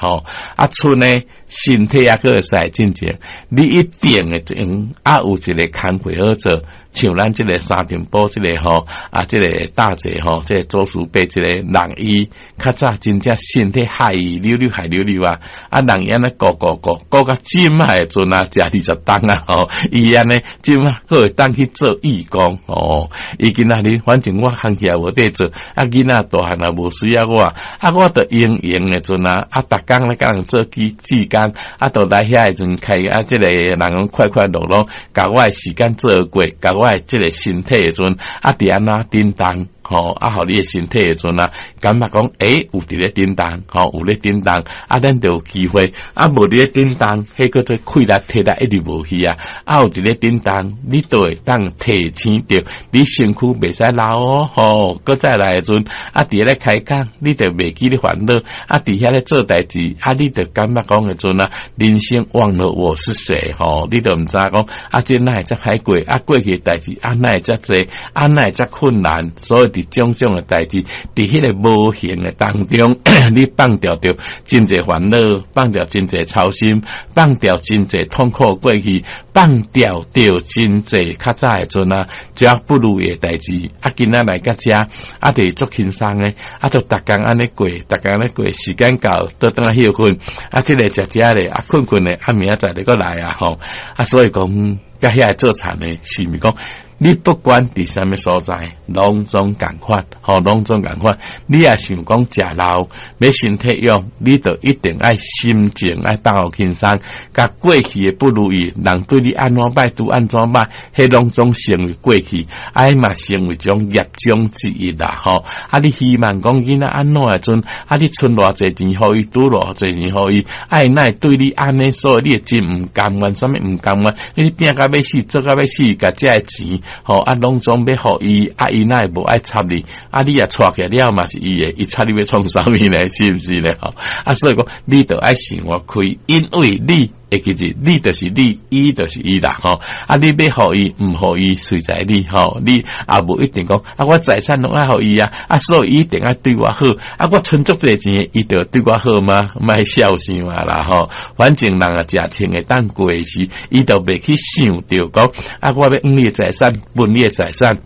吼。啊，賰呢，身體猶閣會使進前，你一定會用啊，有一个工課好做，像咱這个三重埔這个吼，啊，這个大姐吼，這个祖師伯這个人伊較早真正身體害溜溜害溜溜啊，啊，人伊按呢顧顧顧顧到這擺的陣啊，食20冬啊吼，伊按呢這擺閣會當去做義工吼，伊今仔日反正我行起來無得做，啊，囡仔大漢也無需要我，啊，我就閒閒的陣啊，啊，逐工咧佮人做志工，啊，就來遐的陣開啊，這个人講快快樂樂，共我的時間做過，共我的這个身體的陣，啊，佇按怎振動，吼，啊，予你的身體的陣啊，感覺講，欸，有佇咧振動，吼，有咧振動，啊，咱就有機會，啊，無佇咧振動，彼叫做氣力體力一直無去啊，啊，有佇咧振動，你就會當提醒著你身軀袂使老哦，吼，閣再來的陣，啊，佇咧開講，你就袂記咧煩惱，啊，佇遐咧做代誌，啊，你就感覺講的陣啊，人生忘了我是誰，吼，你就毋知講，啊，這哪會遮歹過，啊，過去的代誌，啊，哪會遮濟，啊，哪會遮困難，所以佇種種的代誌，佇彼个無形的當中，你放掉著真濟煩惱，放掉真濟操心，放掉真濟痛苦過去，放掉著真濟較早的陣啊，遮不如意的代誌，啊，今仔來到遮，啊，就是足輕鬆的，啊，就逐工按呢過，逐工按呢過，時間到，倒轉來歇睏，啊，這个食食咧，啊，睏睏咧，啊，明仔載就閣來啊，吼，啊，所以講，佮遐個做田的，是毋是講？你不管佇啥物所在，攏總仝款，吼，攏總仝款。你若想講食老，欲身體勇，你就一定愛心情愛放予輕鬆，共過去的不如意，人對你按怎歹，拄按怎歹，彼攏總成為過去，啊嘛成為一種業障之一啦，吼。啊，你希望講囡仔按怎的陣，啊，你賰偌濟錢予伊，賭偌濟錢予伊，啊，伊哪會對你按呢？所以你會真毋甘願，啥物毋甘願？你拚甲欲死，做甲欲死，共這个錢，吼，啊，攏總欲予伊，啊，伊哪會無愛插你？啊，你若娶起來了嘛是伊的，伊插你欲創啥物呢？是毋是呢？吼，啊，所以講你著愛想開，因為你會記住，你就是你，伊就是伊啦，吼。啊，你欲予伊，毋予伊，隨在你，吼。你也無一定講，啊，我財產攏愛予伊啊，啊，所以伊一定愛對我好。啊，我賰足濟錢，伊就對我好嗎？莫痟想啊啦，吼。反正人啊，食穿會當過時，伊就袂去想著講，啊，我欲分你的財產，分你的財產。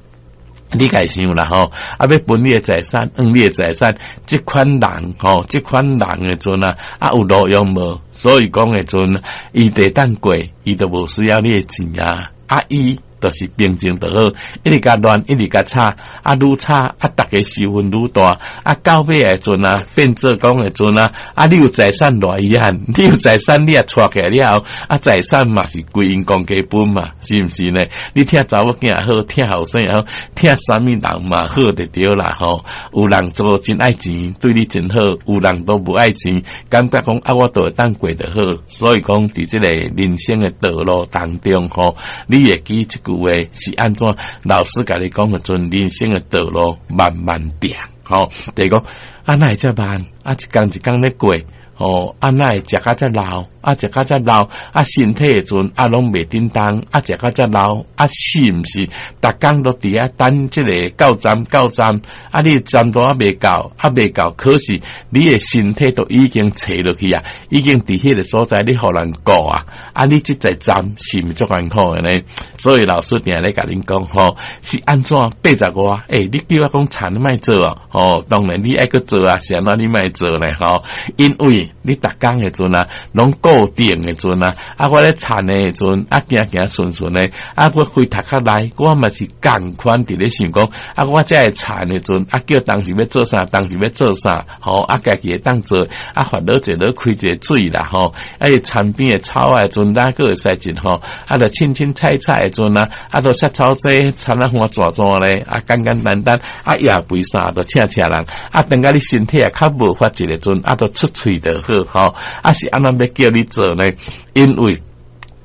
你家想啦吼，啊，欲分你的財產，分你的財產，這款人吼，這款人的陣啊，啊有路用無？所以講的陣，伊會當過，伊就無需要你的錢啊，啊伊就是平靜就好，一直共亂，一直共吵，啊愈吵，啊逐家受恨愈大，啊到尾的陣啊，變做講的陣啊，啊你有財產偌遺憾，你有財產你也娶起來了後，啊財產嘛是歸𪜶公家分嘛，是毋是呢？你疼查某囝也好，疼後生也好，疼啥物人嘛好就對啦吼。有人做真愛錢，對你真好；有人都無愛錢，感覺講啊我都會當過就好。所以講，佇這个人生的道路當中吼，你會記這句話是按怎？老師共你講的陣，人生的道路慢慢行，吼，就是講啊，哪會遮慢？啊，一工一工咧過，吼，啊，哪會食甲遮老？啊，食甲遮老，啊，身體的陣啊，攏袂振動，啊，食甲遮老，啊，是毋是？逐工都佇遐等這个到站到站，啊，你站都猶未到，啊，未到，可是你的身體都已經垂落去啊，已經佇彼个所在，你予人顧啊，啊，你這個站是毋是足艱苦的呢？所以老師定咧共恁講吼，是按怎85？欸，你叫我講田你莫做啊，吼，當然你愛閣做啊，是按怎你莫做呢？吼，因為你逐工的陣啊，攏固定的陣啊，啊，我咧田的陣啊，行行順順的，啊，我回頭殼來，我嘛是仝款佇咧想講，啊，我這个田的陣，啊，叫當時欲做啥，當時欲做啥，吼，啊，家己會當做，啊，煩惱一下，開一個水啦，吼，啊，伊田邊的草的陣，咱閣會使種吼，啊，就凊凊彩彩的陣啊，啊，就殺草劑，田仔花逝逝咧，啊，簡簡單單，啊，也肥啥，就請請人，啊，等甲你身體也較無法一個陣，啊，就出喙就好，吼，啊，是按怎欲叫你做呢？因為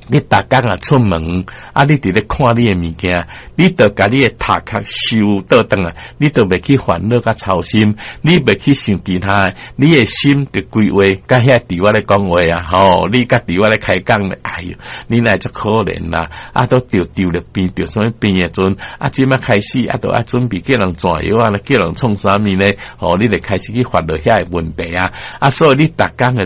你逐工啊出門，啊，你佇咧看你的物件，你就共你的頭殼收倒轉來，你就袂去煩惱佮操心，你袂去想其他的，你的心就規劃佮遐佇我咧講話啊，吼，你佮佇我咧開講咧，哎喲，你哪會遮可憐啦？啊，都著著著病，著啥物病的陣，啊，這擺開始啊，都愛準備叫人轉藥啊，叫人創啥物呢？吼，你就開始去煩惱遐个問題啊，啊，所以你逐工的。